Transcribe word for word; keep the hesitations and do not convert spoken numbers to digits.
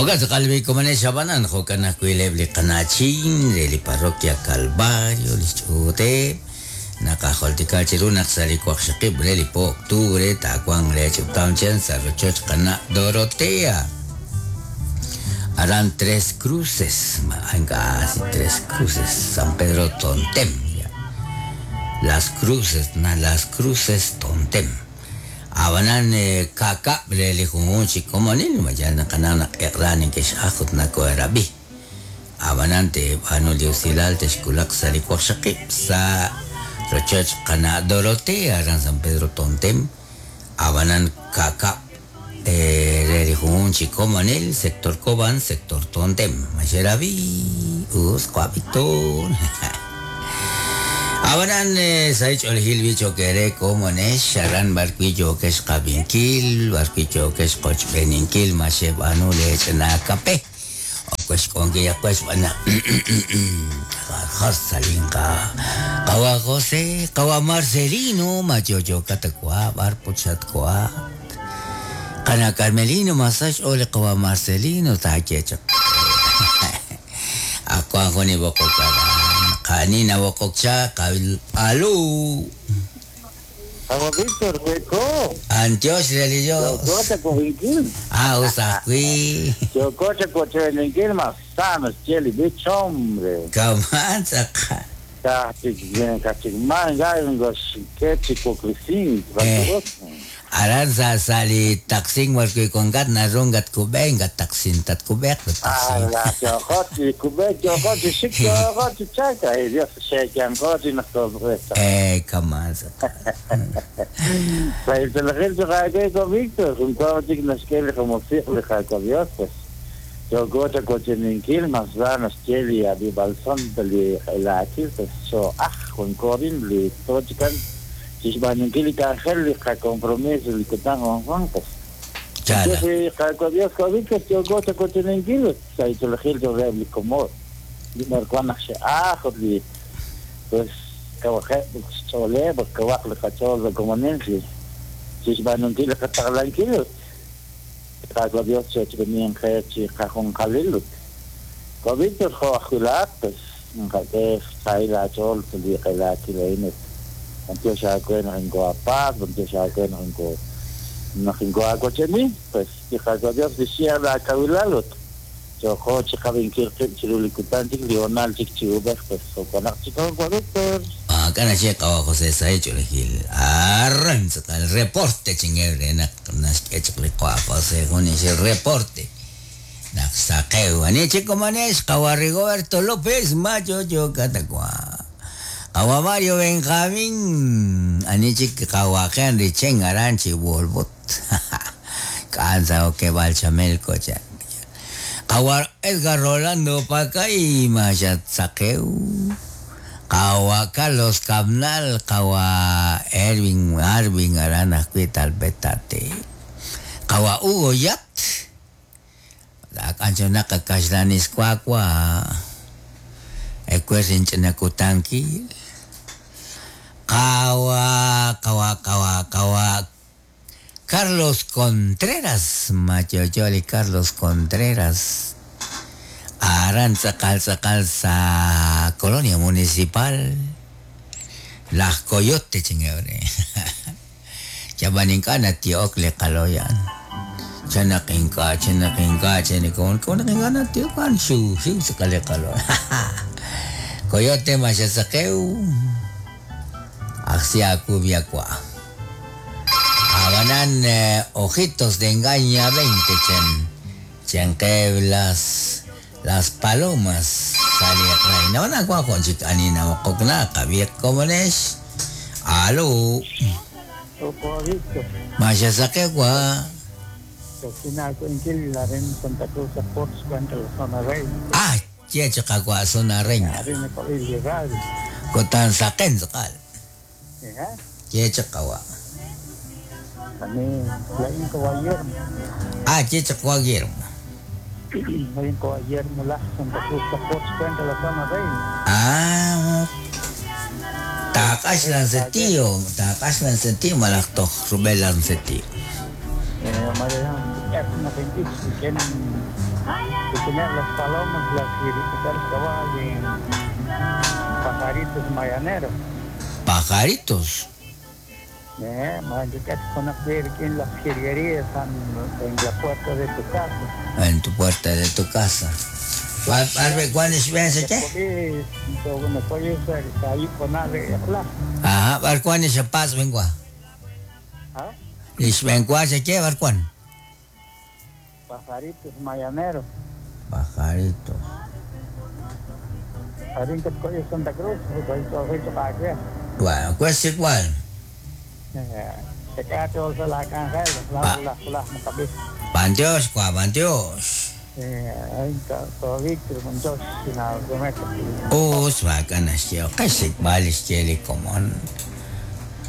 Oga tz'aqal komanex abanan jo'kan ajwi' li qanachin re li parroquia Calvario li xch'uuteb' naqajoltika chiru naq sa' li waqxaqib' re li po octubre taawanq le ch'utam chen sa' rochoch qana' Dorotea aran Tres Cruces, si Tres Cruces, San Pedro Tontem, Las Cruces, na Las Cruces Tontem. Abanan kaka re li junjun chi komonil, mayan qana naq eq'la nikex'aj ut nako'erabi. Abanan te b'aanu li usilal texkulaq sa' li waqxaqib' sa' rochoch qana' Dorotea aran San Pedro Tontem. Abanan kaka re li junjun chi komonil, sector Coban, sector Tontem. Maxerabi, us Víctor. Abanan sa' ch'oolejil bicho kere komonex, aran barquillo kex qabinkil, barquillo kex qochb'eninkil, maxeb'anu lech'na kape. Okex k'onki yakex b'ana. Jarsalinka. Kawa José, kawa Marcelino, machocho katakwa, barpuchat kwa. Kana Carmelino masaj ole kawa Marcelino takecha. Ako ako ni bokok karan. Kanina bokok cha kabil alu. Kawa Víctor, weko. Antios religioso. Yokocha kovinkil. Ah, usakwi. Yokocha kochenenkil masanos cheli bich hombre. Kamanza ka. Kachik kachik man gayon gos kechi koklisin. Aran sa sali taksing warki kongat narungat kubeng gat taksin tat kubek taksin. Ah, yokochi kubek yokochi shik yokochi chaka eh Dios shekan kochi nakobret. Eh kamanza. Sa el gel ko Víctor un kochi naskele como fijo de Dios pues. Yokocha kocheninkil masdanos cheli abi balson li elakil pues so ah con korin li tochikan Xixbaninkil kanjel li compromiso li kutan Juan pues. Chala. Sí, Dios Víctor yokocha kocheninkil sa itologil yo li como li marcuana ah li pues kawaje chole pues kawak li kachol de komonensi. Xixbaninkil kataglankil. Dios chechbenien chi cajón kalilut. Víctor jo pues nka saila chol li kala kileinet. Antiocha kuen ringo apaz, antiocha kuen ringo ringo akocheni, pues hija Dios decía la kawilalot. Yo jo chikabin kirkip chirulikutantik Lionel chikchiubek pues okonak chiko Víctor. Ah, kana che kawa José Saecho legil. Arranza el reporte chingebre na naskech li kwa José con ese reporte. Naksakeu ani chico manes kawa Rigoberto López macho yo katakwa. Kawa Mario Benjamín ani chik kawa Henry Chen Aranchi Wolbot. Cansa o que balchamelco cha. Kawa Edgar Rolando Pacay machat sakeu. Kawa Carlos Cabnal, kawa Erwin Arvin Arana Cuital Betate. Kawa Hugo Yat. La canción naka kashlanis kwakwa. Ekwesin chinakutanki. Kawa, kawa, kawa, kawa. Carlos Contreras, Machocholi Carlos Contreras. Aranza calza calza colonia municipal Las Coyote chingebre. Chabaninkana tiok le kaloyan. Chanakinka chanakinka chanikon konakinkana tiok shu shu sakale kalo. Coyote machasakeu. Axia kubiakwa. Abanan eh, ojitos de engaña veinte chen. Chenqueblas las palomas salía reina una guajo chicanina mococna cabía como nes aló Maya saquegua ah che chacagua zona reina cotan saquen sacal che chacagua ah che chacagua Guillermo Ah, takash lan setiyo, takash lan setiyo malaktok rubel lan setiyo. Quién las palomas, las pajaritos mayaneros. Pajaritos. Eh, las jilguerías en la puerta de tu casa. En tu puerta de tu casa. ¿Cuál es qué? Ajá, ¿cuál es el paso, vengo? ¿Ah? ¿Qué? ¿Cuál? Pajaritos mayaneros. Pajaritos. Santa Cruz, Bueno, ¿cuál es igual? Panteos, ¿cuál panteos? Oh, bacana, yo, casi vale, como.